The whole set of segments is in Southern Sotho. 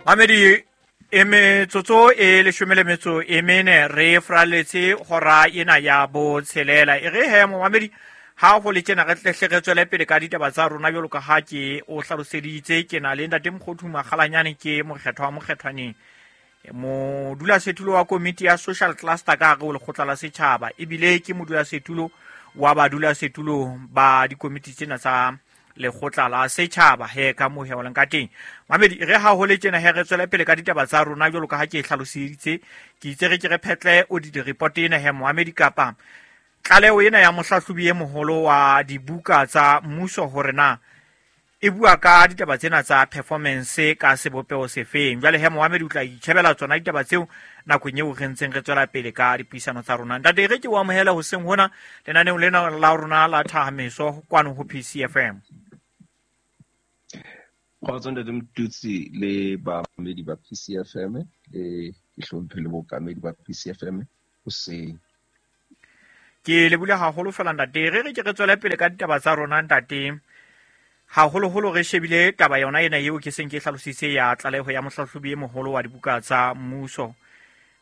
Mamedi e metsotso e leshome le metso e mene re fraletse hora ena ya botshelela. E re he momamedi ha go le tjena re tlehle re tswele pele ka ditaba tsa rona jwalo ka ha ke o hlaloseditse. Ke na le ntate Mokgothu Makgalanyane, ke mokgethwa wa mokgethwaneng, modulasetulo wa komiti ya social cluster ka hare ho lekgotla la setjhaba, ebile ke modulasetulo wa badulasetulo ba dikomiti tsena tsa lekgotla la setjhaba he ka moo he o leng ka teng. Mamedi re ha ho le tjena he re tswele pele ka ditaba tsa rona jwalo ka ha ke e hlaloseditse. Ke itse re ke re phetle o di report ena he moamedi kapa tlaleho ena ya mohlahlobi e moholo wa dibuka tsa mmuso hore na e bua ka ditaba tsena tsa performance ka sebopeho sefeng. Jwale he moamedi o tla itjhebela tsona ditaba tseo nakong eo re ntseng re tswela pele ka dipuisano tsa rona. Ntate re ke o amohele hoseng hona lenaneong lena la rona la Thahameso kwano ho PCFM. Kgotso ntate Motutsi le bamamedi ba PCFM, le ke hlomphe le bookamedi ba PCFM hoseng. Ke lebule haholo fela ntate. Re re ke re tswele pele ka ditaba tsa rona ntate. Haholoholo re shebile taba yona ena eo ke seng ke hlalositse ya tlaleho ya mohlahlobi e moholo wa dibuka tsa mmuso,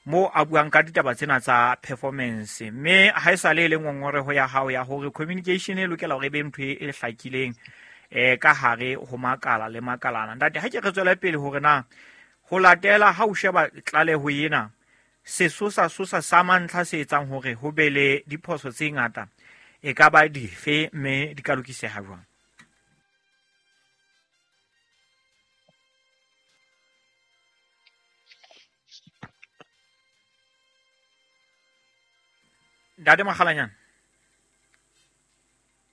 moo a buang ka ditaba tsena tsa performance. Mme ha e sale e le ngongoreho ya hao ya hore communication e lokela hore e be ntho e hlakileng ka hare ho makala le makalana. Ntate, ha ke re tswele pele hore na ho latela ha o sheba tlaleho ena, sesosa sosa sa mantlha se etsang hore ho be le diphoso tse ngata e ka ba dife, mme di ka lokiseha jwang? Ntate Makgalanyane.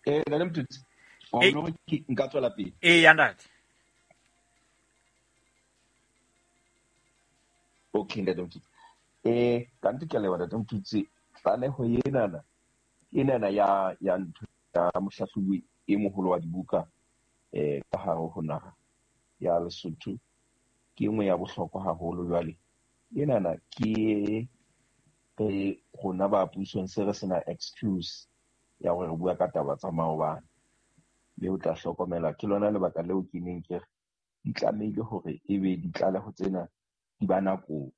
Ntate Motutsi, wa bona hore ke nka tswela pele? Ee, ya ntate. Okay, ntate Motutsi. Ka nnete ke a leboha ntate Motutsi. Tlaleho enana ya ntho ya mohlahlobi e moholo wa dibuka ka hare ho naha ya Lesotho ke nngwe ya bohlokwa haholo. Jwale enana ke re rona ba pusong se re sena excuse ya hore re bua ka taba tsa maobane, mme o tla hlokomela ke lona lebaka leo ke neng ke re di tlamehile hore ebe ditlaleho tsena di ba nakong.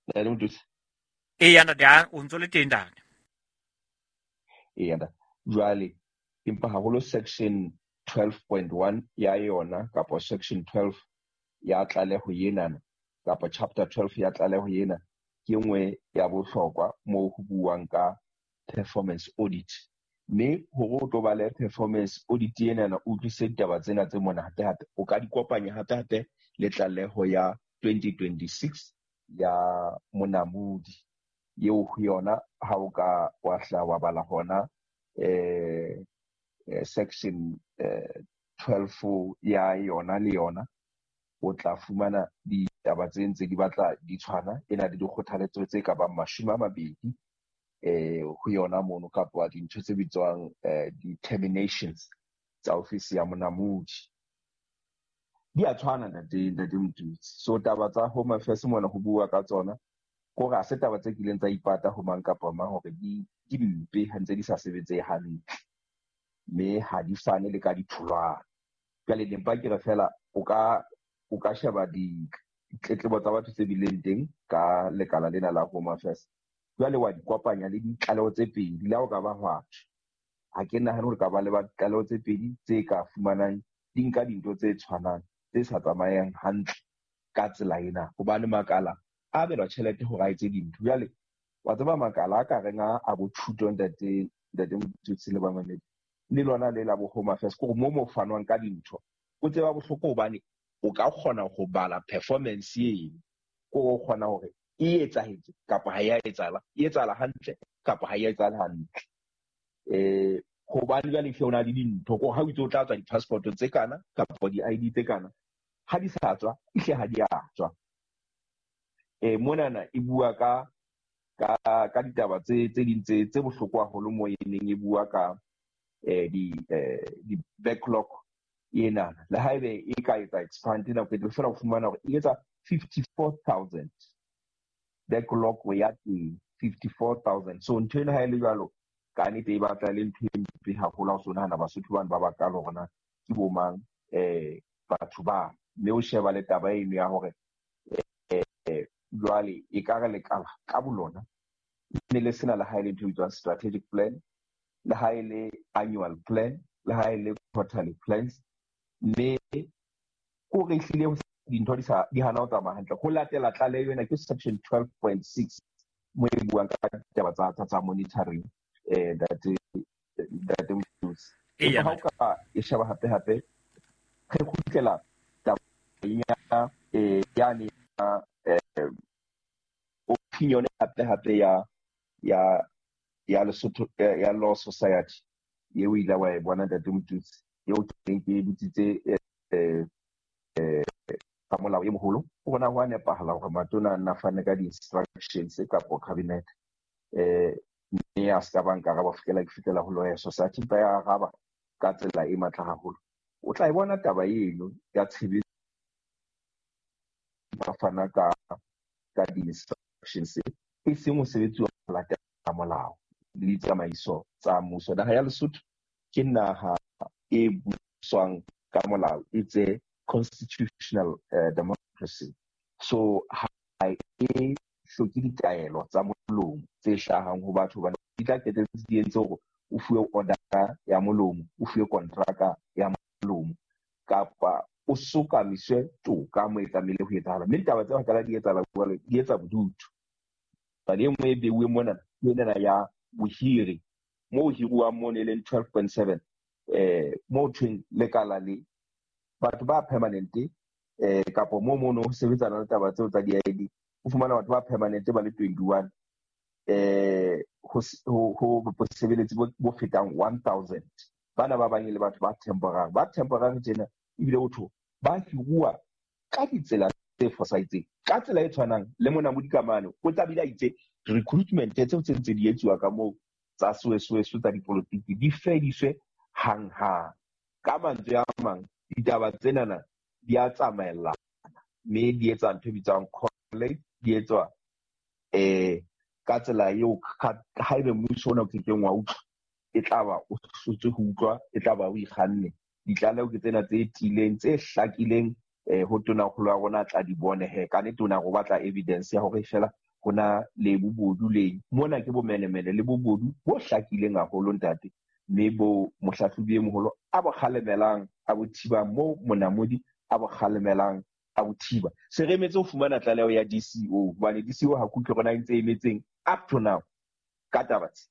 Ntate Motutsi? Eya, ntate, o ntso le teng ntate. Eya, ntate. Jwale empa haholo section 12.1 ya yona kapa section 12 ya tlaleho enana kapa chapter 12 ya tlaleho ena ke nngwe ya bohlokwa moo ho buuwang ka performance audit. Mme hore o tlo ba le performance audit enana o utlwisise ditaba tsena tse mona hape hape, o ka di kopanya hape hape le tlaleho ya 2026 ya monamodi eo ho yona ha o ka wa hla wa bala hona section 12 ya yona le yona, o tla fumana ditaba tse ntse di batla di tshwana, e na le dikgothaletso tse ka bang 20 ho yona mono, kapa dintho tse bitswang determinations tsa ofisi ya monamodi. Di a tshwana ntate Motutsi. So taba tsa Home Affairs mona ho bua ka tsona, kore ha se taba tse kileng tsa ipata ho mang kapa mang hore di mpe ha ntse di sa sebetse hantle, mme ha di fane le ka ditholwana. Jwale ne mpa ke re fela o ka sheba ditletlebo tsa batho tse bileng teng ka lekala lena la Home Affairs, jwale wa di kopanya le ditlaleho tse pedi. Le ha o ka ba hwa thwe, ha ke nahane hore ka ba le ditlaleho tse pedi tse ka fumanang di nka dintho tse tshwanang tse sa tsamayang hantle ka tsela ena, hobane makala a abelwa tjhelete hore a etse dintho. Jwale wa tseba makala a ka reng a bo thuto ntate Motutsi le bamamedi, le lona le la bo Home Affairs, ke hore mo fanwang ka dintho o tseba bohloko, hobane o ka kgona ho bala performance eno, ke hore o kgona hore e etsahetse kapa ha e a etsahala, e etsahala hantle kapa ha e a etsahala hantle. Hobane jwale hle o na le dintho, ke hore ha o itse o tla tswa di-passport tse kana kapa di-I D tse kana, ha di sa tswa, ehle ha di a tswa. Monana e bua ka ditaba tse ding tse bohloko haholo moo e neng e bua ka di backlog ena. Le haebe e ka etsa expand nako e tlo fela o fumana hore e etsa 54,000 backlog ya teng, 54,000. So ntho ena ha e le jwalo, ka nnete e batla le ntho e mpe haholo ha o so nahana Basotho bana ba bakalo hore na ke bo mang batho ba, mme o sheba le taba eno ya hore jwale e ka re lekala ka bolona ne le sena le ha e le ntho e bitswang strategic plan, le ha e le annual plan, le ha e le quarterly plans, mme ko re ehlile dintho di sa di hana ho tsamaya hantle. Ho latela tlaleho ena ke section 12.6 mo e buang ka ditaba tsa monitoring, ntate Motutsi. Empa ha o ka e sheba hape hape re kgutlela tabeng ya yane ya opinion hape hape ya Lesotho ya Law Society eo ile wa e bona ntate Motutsi, eo ke neng ke botsitse ka molao e moholo. O bona ho a nepahala hore matona a nna fane ka di-instructions kapo cabinet, mme a ska ba nkaraba ho fihlela ke fihlela ho Lawyer Society, empa ya araba ka tsela e matla haholo. O tla e bona taba eno ya tshebetso ba fana ka di-instructions e seng ho sebetsiwa ho latela molao le ditsamaiso tsa mmuso. Naha ya Lesotho ke naha e buswang ka molao, it's a constitutional democracy. So ha e hloke ditaelo tsa molomo tse hlahang ho batho, hobane di tla qetelletse di entse hore o fuwe order ya molomo, o fuwe kontraka ya molomo, kapa o sokamiswe toka mo e tlamehile ho etsahala. Mme ditaba tse qala di etsahala jwale, di etsa bodutu. Hobane e nngwe e beuweng mona ke enana ya bohiri, moo hiruwang mono e leng 12.7, moo thweng lekala le batho ba permanent, kapo moo mono ho sebetsana le taba tseo tsa di-ID, o fumana batho ba permanent ba le 21, ho bosebeletsi bo fetang 1000. Bana ba bang e le batho ba temporary, ba temporary tjena ebile ho thwe ba hiruwa ka ditsela tse fosahetseng, ka tsela e tshwanang le mona Modikamane o tla bile a itse recruitment tseo tse ntse di etsuwa ka moo tsa soesoeso tsa dipolotiki di fediswe hanghang. Ka mantswe a mang, ditaba tsenana di a tsamaellana, mme di etsa ntho e bitswang correlate, di etswa ka tsela eo haebe mmuso ona o kekeng wa utlwa, e tla ba o hlotswe ho utlwa, e tla ba o ikganne. Ditlaleho ke tsena tse tiileng, tse hlakileng, ho tonakgolo ya rona tla di bone he. Ka nnete o na re o batla evidence ya hore feela ho na le bobodu leng. Mona ke bomenemene le bobodu bo hlakileng haholo ntate, mme bo mohlahlobi e moholo a bo kgalemelang, a bo thibang, moo monamodi a bo kgalemelang, a bo thiba. Se re emetse ho fumana tlaleho ya DCO, hobane DCO ha ke utlwe rona e ntse e emetseng up to now ka taba tse.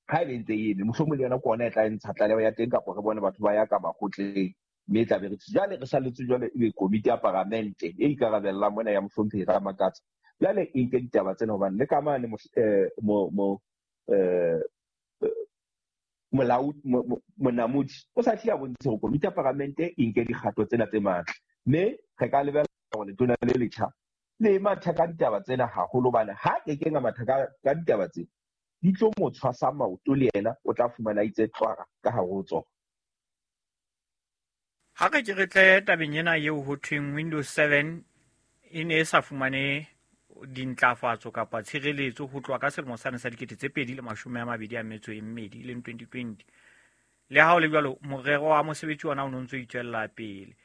Ha e be ntse e eme, mohlomong le yona ke ona e tla ntsha tlaleho ya teng, kapa re bone batho ba ya ka makgotleng, mme e tla be re thuse. Jwale re salletse jwale ebe komiti ya paramente e ikarabellang mona ya mohlomphehi Ramakatsa. Jwale e nke ditaba tsena, hobane le ka mane monamodi o sa tlile a bontshe hore komiti ya paramente e nke dikgato tsena tse matla. Mme re ka lebella hore letona le letjha le matha ka ditaba tsena haholo, hobane ha kekeng a matha ka ditaba tse, di tlo mo tshwasa maoto le yena, o tla fumana a itse tlwara ka hare ho tsona. Ha re ke re tle tabeng ena eo ho thweng Windows 7 e ne e sa fumane dintlafatso kapa tshireletso ho tloha ka selemo sane sa 2022, e leng 2020. Le ha ho le jwalo, morero wa mosebetsi ona o no ntso itswella pele.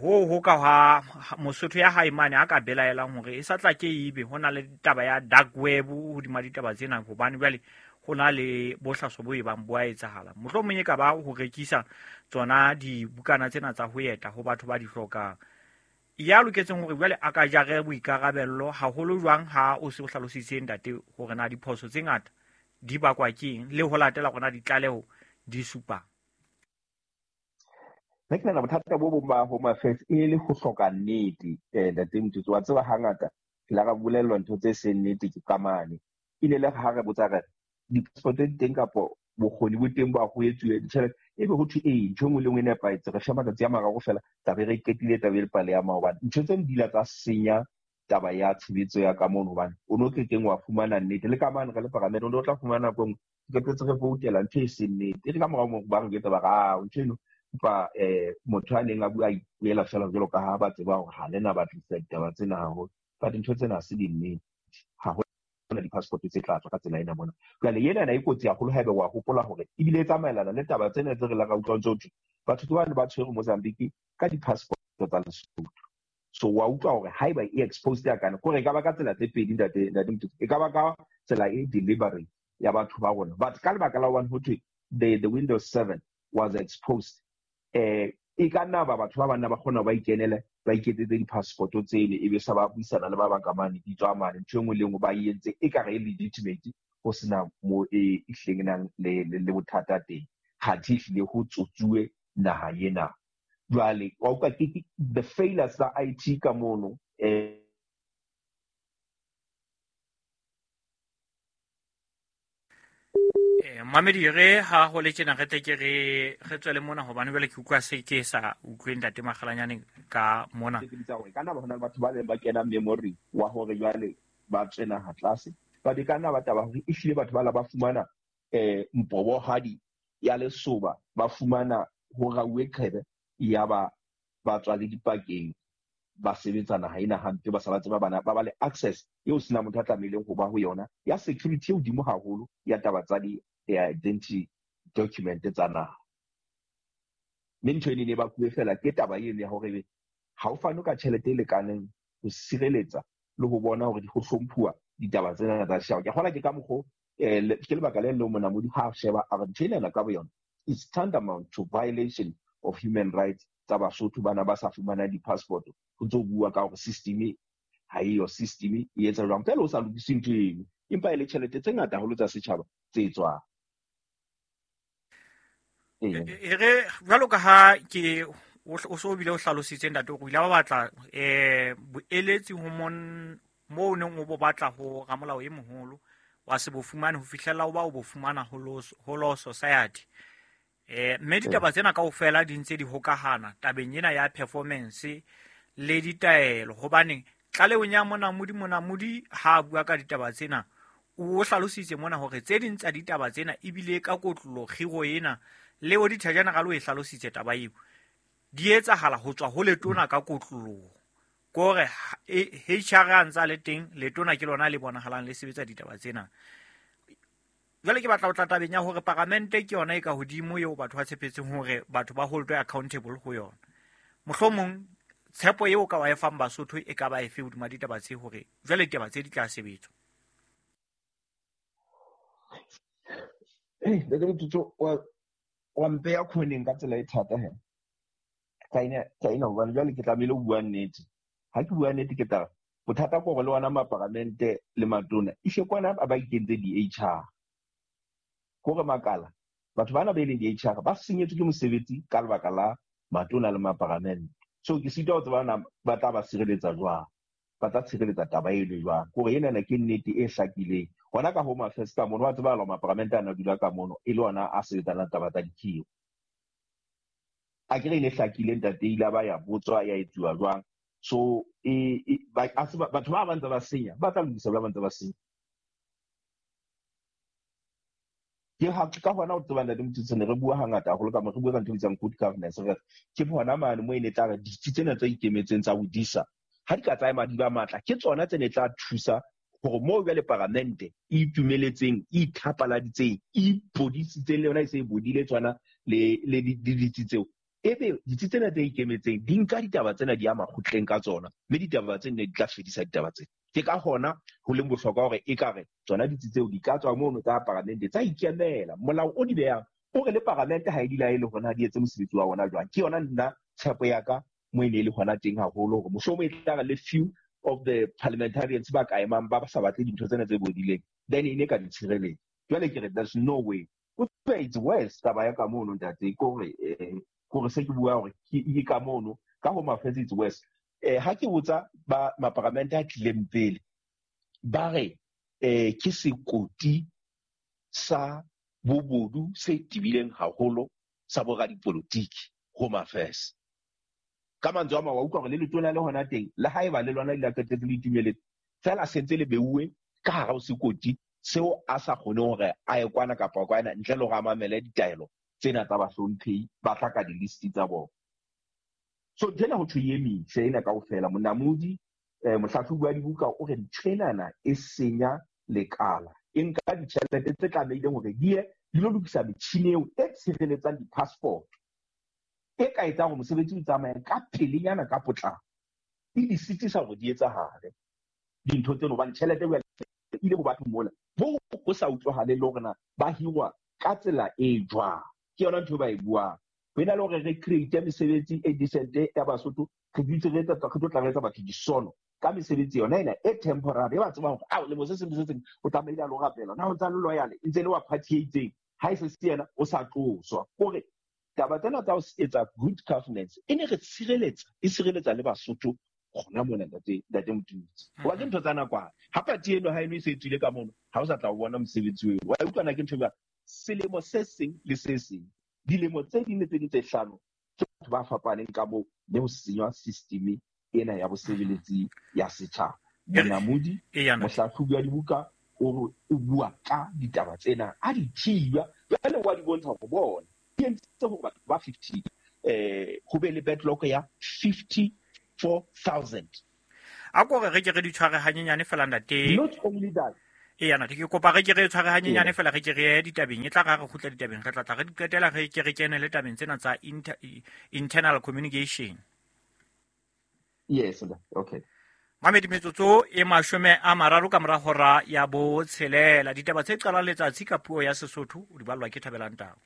Ho ka ha Mosotho ya hae mane a ka belaelang hore e sa tla ke ebe ho na le taba ya dark web hodima ditaba tsena, hobane jwale ho na le bohlaso bo e bang bo a etsahala. Mohlomong e ka ba ho rekisa tsona dibukana tsena tsa ho eta ho batho ba di hlokang. Ya loketseng hore jwale a ka jare boikarabello haholo jwang ha o se o hlalositse ntate hore na diphoso tse ngata di bakwa ke eng, le ho latela hore na ditlaleho di supang. Nna ke nahana bothata bo bong ba Home Affairs e le ho hloka nnete, ntate Motutsi. Wa tseba hangata ke la ra bolellwa ntho tse seng nnete ke ka mane. E ne le ha re botsa re di-passport di teng kapo bokgoni bo teng ba ho etsuwe ditjhelete, ebe ho thwe ee, ntho e nngwe le nngwe e nepahetse, re fe matsatsi a mararo feela, tlabe re qetile taba e le pale ya maobane. Ntho tseno di ile tsa senya taba ya tshebetso ya ka mono, hobane o no kekeng wa fumana nnete. Le ka mane re le paramente, o no tla fumana nako e nngwe re qetetse re voutela ntho e seng nnete. E re ka morao moo ba re jwetsa ba re, ah, ntho eno empa motho a neng a bua a ipuela feela jwalo ka ha ba tseba hore ha le na batlisa ditaba tsena haholo. But ntho tsena ha se dinnete. Ha ho na di-passport tse tla tswa ka tsela ena mona. Jwale ena e kotsi haholo haeba wa hopola hore ebile e tsamaelana le taba tsena tse re la ra utlwa ntse ho thwe batho ke bane ba tshwerwe Mozambique ka di-passport tsa Lesotho. So wa utlwa hore haeba e exposed ya kana kore e ka ba ka tsela tse pedi, ntate Motho, e ka ba ka tsela e delivery ya batho ba rona, but ka lebaka la hobane ho thwe the Windows 7 was exposed, e ka nna ba batho ba banna ba kgona ba ikenele ba iketsetse di-passport tsele, e be sa ba buisana le ba bang ka mane di tswa mane, ntho e nngwe le nngwe ba e entse e ka re e legitimate, ho sena mo e hlileng nang le bothata teng, kgathe ehlile ho tsotsuwe naha ena. Jwale wa utlwa ke the failures tsa IT ka mono. Mamedi, re ha ho le tjena re tle ke re tswele mona, hobane jwale ke utlwa se ke sa utlwe ntate Makgalanyane ka mona. Ke bitsa hore kana ba hona le batho ba leng ba kena memory wa hore jwale ba tswe naha tlase, ba di kana ba taba hore ehlile batho ba la ba fumana mpobohadi ya lesoba, ba fumana ho rauwe qhebe, ya ba tswa le dipakeng, ba sebetsa naha ena hampe, ba sa ba tseba bana ba le access eo sena motho a tlamehileng ho ba ho yona ya security e hodimo haholo ya taba tsa di identity document tsa naha. Mme ntho ene ne ba kuwe fela ke taba eno ya hore ha o fane ka tjhelete e lekaneng ho sireletsa le ho bona hore ho hlomphuwa ditaba tsena tsa setjhaba. Ke kgola ke ka mokgo ke lebaka le leng Monamodi ha sheba a re ntho ena ka boyona is tantamount to violation of human rights tsa Basotho bana ba sa fumana di-passport. Ho ntso bua ka hore system ha eyo, system e etsa jwang fela o sa lokise ntho eno, empa e le tjhelete tse ngata haholo tsa setjhaba tse tswang. E re jwalo ka ha ke o so bile o hlalositse ntate hore o ile ba batla boeletsi ho mo neng o bo batla ho ramolao e moholo wa se bo fumane ho fihlella o ba o bo fumana ho Law Society. Mme ditaba tsena kaofela di ntse di hokahana tabeng ena ya performance le ditaelo, hobane tlalehong ya Monamodi ha a bua ka ditaba tsena o hlalositse mona hore tse ding tsa ditaba tsena ebile ka kotlolo kgiro ena le Auditor General o e hlalositse taba eo di etsahala ho tswa ho letona ka kotloloho, kore HR a ntsa le teng, letona ke lona le bonahalang le sebetsa ditaba tsena. Jwale ke batla ho tla tabeng ya hore paramente ke yona e ka hodimo eo batho ba tshepetseng hore batho ba holdwe accountable ho yona. Mohlomong tshepo eo ka wa e fang Basotho e ka ba efe hodima ditaba tse hore jwale ditaba tse di tla sebetswa? Ntate Motsotsho, wa mpeya khoneng ka tsela e thata he. Ka ina hobane jwale ke tlamehile ho bua nnete. Ha ke bua nnete ke tla bothata ke hore le ona maparamente le matona ishe kwana ba ikentse di-HR. Kore makala batho bana ba eleng di-HR ba senyetswe ke mosebetsi ka lebaka la matona le maparamente. So ke sitwa ho tseba na ba tla ba sireletsa jwang, ba tla tshireletsa taba eno jwang. Kore enana ke nnete e hlakileng. Hona ka Home Affairs ka mono wa tseba maparamente ana dula ka mono e le ona a sebetsanang taba tsa dikhiro. A ke re ne hlakile ntate ile ba ya botswa ya etsuwa jwang. So batho ba bantse ba senya, ba tla lokisa ba bantse ba senya. Ke ha ka hona ho tseba ntate Motsotsho ne re bua hangata haholo ka mo re bua ka ntho e bitswang good governance, re ke hona mane mo e ne tla re ditsi tsena tse ikemetseng tsa bodisa ha di ka tsaya madi ba matla, ke tsona tse ne tla thusa hore moo jwale paramente e itumeletseng, e ithapaladitseng, e ipodisitseng le yona e se e bodile tswana le ditsi tseo. Ebe ditsi tsena tse ikemetseng di nka ditaba tsena di ya makgotleng ka tsona, mme ditaba tsena di tla fedisa ditaba tsena. Ke ka hona ho leng bohlokwa hore ekare tsona ditsi tseo di ka tswa mono tsa paramente tsa ikemela. Molao o di behang o re le paramente ha e di laele hore na di etse mosebetsi wa ona jwang. Ke yona nna tshepo ya ka mo e ne e le hona teng haholo hore mohlomong e tla re le few of the parliamentarians ba ka emang ba sa batle dintho tsena tse bodileng, then e ne ka di tshireletsa. Jwale ke re there's no way. O tseba it's worse taba ya ka mono ntate, kore se ke bua hore ke ka mono ka Home Affairs it's worse. Ha ke botsa ba maparamente a tlileng pele ba re ke sekoti sa bobodu se tebileng haholo sa boradipolotiki Home Affairs. Ka mantswe a mang wa utlwa hore le letona le hona teng le haeba le lona le la qetetse le itumeletse fela sentse le beuwe ka hara ho sekoti seo a sa kgone hore a ye kwana kapa kwana ntle le hore a mamele ditaelo tsena tsa bahlomphehi ba tla ka di-list tsa bona. So ntho ena ho thwe e emise ena kaofela. Monamodi mohlahlobi wa dibuka o re ntho enana e senya lekala, e nka ditjhelete tse tlamehileng hore di ye di lo lokisa metjhini eo e tshireletsang di-passport, e ka etsang hore mosebetsi o tsamaye ka pelenyana ka potlako, e di sitisa hore di etsahale dintho tseno, hobane tjhelete e ile ho batho mola moo ho sa utlwahale le hore na ba hirwa ka tsela e jwang. Ke yona ntho e ba e buang. Ho ena le hore re create mesebetsi e decent ya Basotho, re dutse re etsa, re tlo tla re etsa batho disono ka mesebetsi yona ena e temporary, e ba tsebang hore ao lemo se seng le se seng o tlamehile a lo rapela, na o ntsa le loyal, e ntse le wa party e itseng, ha e se se yena o sa tloswa. Kore taba tsena tsa ho etsa good governance e ne re tshireletsa, e sireletsa le Basotho gona mona, ntate Motutsi. Hoba ke ntho tsa nakwana. Ha party eno ha eno e se e tswile ka mono, ha o sa tla o bona mosebetsi oo. Wa utlwa na ke ntho e jwang? Selemo se seng le se seng, dilemo tse ding le tse ding tse hlano, ke batho ba fapaneng ka moo, mme ho senywa system ena ya bosebeletsi ya setjhaba. Monamodi, mohlahlobi wa dibuka, o re o bua ka ditaba tsena, a di thiba, jwale wa di bontsha hore bona di entse hore batho ba 50, ho be le backlog ya 54,000. A ko re ke re di tshware hanyenyane fela, ntate. Not only that. Eya, ntate, ke kopa re ke re tshware hanyenyane fela, re ke re ye ditabeng. E tla re ha re kgutla ditabeng, re tla tla re di qetela, re ke re kene le tabeng tsena tsa internal communication. Yes, okay. Mamedi, metsotso e 30 ka mora hora ya 6. Ditaba tse qalang letsatsi ka puo ya Sesotho o di ballwa ke Thabelang Tau.